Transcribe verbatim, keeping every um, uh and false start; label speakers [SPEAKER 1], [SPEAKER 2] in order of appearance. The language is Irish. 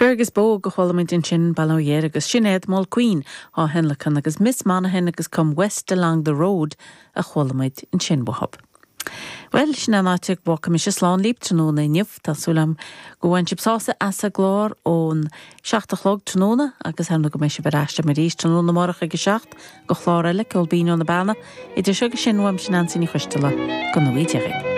[SPEAKER 1] Fergus Bogue a chuala muid ansin bail ó Dhia air agus Sinéad Mulqueen á thionlacan agus Miss Monaghan agus Come West Along the Road a chuala muid ansin uathub. Well sin an áit a bhfágfaidh mise slán libh tráthnóna inniu Tá súil agam gur bhain sibh sásamh as an gclár ón seacht a chlog tráthnóna agus ar go mbeidh sibh ar ais arís tráthnóna amárach ag a seacht go chlár eile Ceol Binn ó na Beanna idir seo agus sin uaimse Neansaí Ní Choisteala go ngnóthaí Dia.